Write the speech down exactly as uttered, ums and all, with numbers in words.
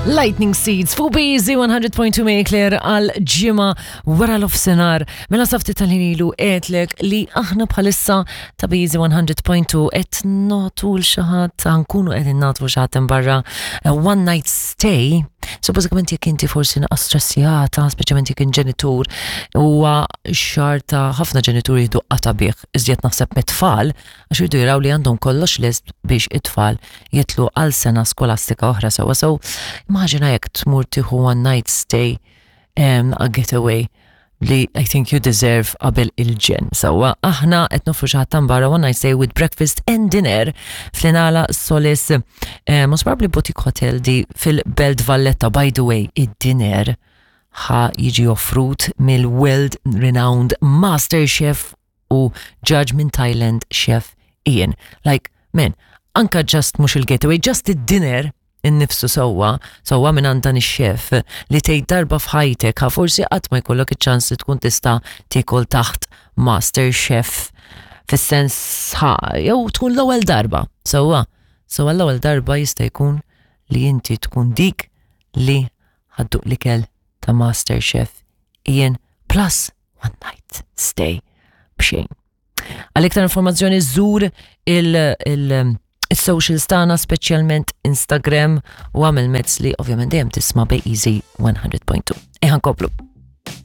Lightning Seeds fuq B E Z one hundred point two Mayclear għal ġimgħa wara nofsinhar. Mela sa ftit tal-ħin ilu għedtlek li aħna bħalissa ta' B E Z one hundred point two qed nagħtu lil xi ħadd, nkunu qegħdin nagħtu xi ħadd barra one night stay. So bażikament jekk inti forsi naqra stressjata, speċjalment jekk ġenitur, huwa xahar ta' ħafna ġenituri jieħdu qata bih, iżjed naħseb mit-tfal, għax jridu jaraw li għandhom kollox lest biex it-tfal jitilgħu għal sena skolastika oħra sewwa. So immaġina jekk tmur tieħu one night stay, um, a getaway li I think you deserve qabel il-ġenn. Sewwa, aħna qed noffru xi ħadd barra one night stay with breakfast and dinner fl-Inala Solis, eh, most probably boutique hotel di fil-Belt Valletta. By the way, id-dinner ħa jiġi offrut mill-world renowned master chef u judge minn Thailand, Chef Ian. Like, man, anka just mhux il-getaway, just id-dinner innifsu sewwa, sewwa minn għand dan ix-chef li tgħid darba f'ħajtek ha forsi qatt ma jkollok iċ-ċans li tkun tista' tiekol taħt master chef fis-sens ħa jew tkun l-ewwel darba. Sewwa, sewwa l-ewwel darba jista' jkun li inti tkun dik li ħa dduq l-ikel ta' Master Chef Ian plus one night stay b'xejn. Għal iktar informazzjoni żur il- il- il-socials tagħna, speċjalment Instagram, u għamel mezz li ovvjament dejjem tisma' B E Z one hundred point two. Eħan koplu.